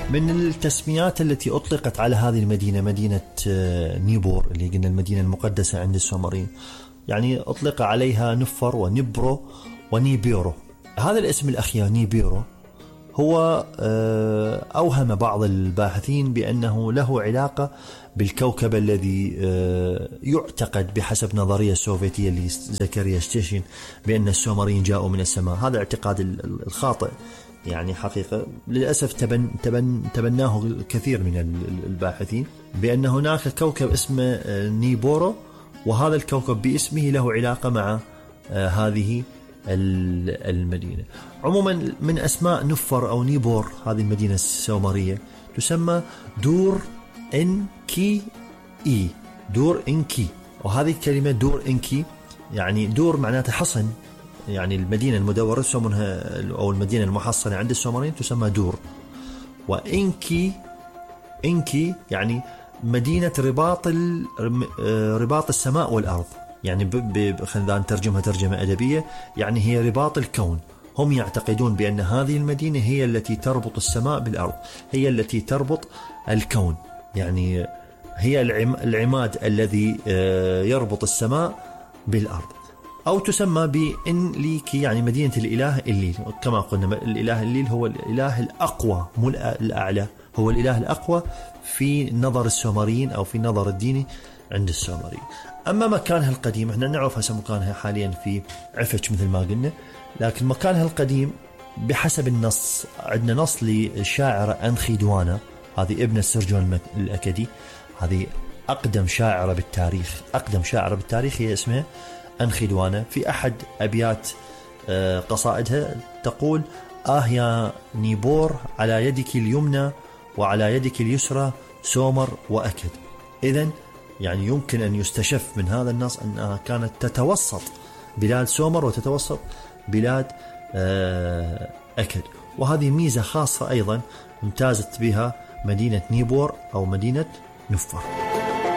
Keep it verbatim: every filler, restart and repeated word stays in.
من التسميات التي أطلقت على هذه المدينة مدينة نيبور اللي قلنا المدينة المقدسة عند السومريين، يعني أطلق عليها نفر ونبرو ونيبيرو. هذا الاسم الأخير نيبيرو هو أوهم بعض الباحثين بأنه له علاقة بالكوكب الذي يعتقد بحسب نظرية السوفيتية اللي زكريا ستيشن بأن السومريين جاءوا من السماء. هذا الاعتقاد الخاطئ يعني حقيقة للأسف تبن تبن تبناه الكثير من الباحثين، بأن هناك كوكب اسمه نيبورو، وهذا الكوكب باسمه له علاقة مع هذه المدينة. عموما من أسماء نفر أو نيبور هذه المدينة السومرية تسمى دور إنكي إي، دور إنكي. وهذه الكلمة دور إنكي يعني دور معناته حصن، يعني المدينة المدورة يسمونها أو المدينة المحصنة عند السومريين تسمى دور. وإنكي إنكي يعني مدينة رباط رباط السماء والأرض، يعني خلينا نترجمها ترجمة أدبية، يعني هي رباط الكون. هم يعتقدون بأن هذه المدينة هي التي تربط السماء بالأرض، هي التي تربط الكون، يعني هي العماد الذي يربط السماء بالأرض. أو تسمى بإنليكي يعني مدينة الإله إليل، كما قلنا الإله إليل هو الإله الأقوى مو الأعلى، هو الإله الأقوى في نظر السومريين أو في نظر الديني عند السومريين. أما مكانها القديم احنا نعرف هسه مكانها حاليا في عفش مثل ما قلنا، لكن مكانها القديم بحسب النص عندنا نص للشاعرة أنخيدوانا، هذه ابنة سرجون الأكدي، هذه أقدم شاعرة بالتاريخ، أقدم شاعرة بالتاريخ هي اسمها أنخيدوانا. في أحد أبيات قصائدها تقول: آه يا نيبور على يدك اليمنى وعلى يدك اليسرى سومر وأكد. إذن يعني يمكن أن يستشف من هذا النص أنها كانت تتوسط بلاد سومر وتتوسط بلاد أكد. وهذه ميزة خاصة أيضا امتازت بها مدينة نيبور أو مدينة نفر.